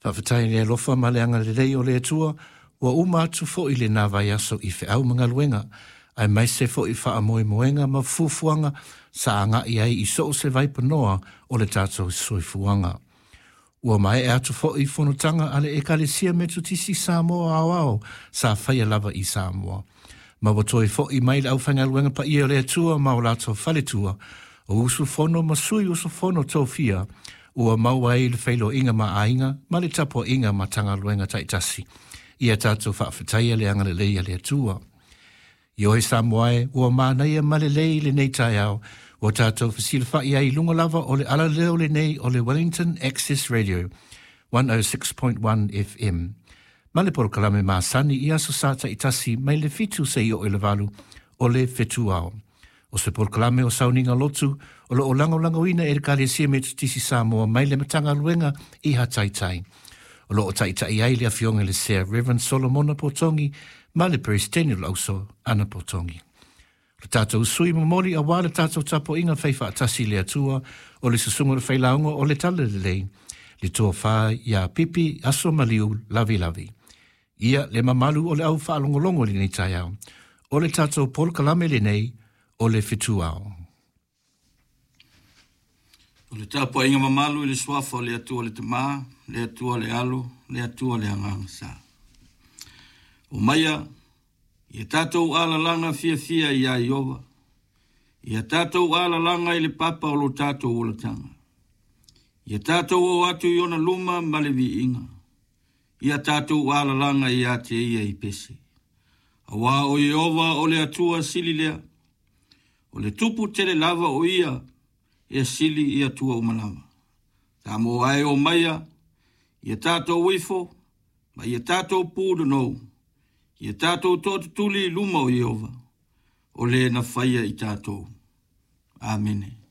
Faafetai i le alofa ma le agalelei o le Atua, ua uma atu foi lena vaiaso i feau ma galuega, aemaise foi faamoemoega ma fuafuaga sa agai ai i so o se vaipanoa o le tatou soifuaga. Ua maea atu foi fonotaga a le Ekalesia Metotisi Samoa Aoao sa faia lava i Samoa. Ma ua toe foi mai le aufaigaluega paia o le Atua ma o latou faletua, o usufono ma sui usufono tofia, ua maua ai le feiloaiga ma aiga ma le tapuaiga a Matagaluega taitasi. Ia tatou faafetaia le agalelei a le Atua. Ioe Samoa e, ua manaia ma lelei lenei taeao, ua tatou fesilafai ai i luga lava o le alaleo lenei o le Wellington Access Radio 106.1 FM. Ma le polokalame masani i Aso Sa taitasi mai le 7 seia oo i le 8 o le Fetuao. O se polokalame o Sauniga Lotu o lo o lagolagoina e le Ekalesia Metotisi Samoa mai le Matagaluega i Hataitai. O lo o taitai ai le afioga i le Sea Reverend Solomona Potogi ma le Peresetene o le Auso Ana Potogi. O le tatou sui momoli aua le tatou tapuaiga fai faatasi i le Atua o le susuga o le Failauga o le Talalelei, le Tofa ia Pipi Aso Maliu Lavilavi. Ia le mamalu o le au faalogologo i lenei taeao, o le tatou polokalame lenei o le Fetuao. O le tapuaiga mamalu i le suafa o le Atua le Tama, le Atua le Alo, le Atua le Agaga Sa. Omaia, ia tatou alalaga fiafia iā Ieova, ia tatou alalaga i le papa o lo tatou olataga. Ia tatou o atu i ona luma ma le viiga, ia tatou alalaga ia te ia i pese. Auā o Ieova o le Atua sili lea, o le Tupu tele lava o ia e sili i Atua uma lava. Samoa e omaia, ia tatou ifo, ma ia tatou punonou, ia tatou toatutuli i luma o Ieova, o le na faia i tatou. Amene.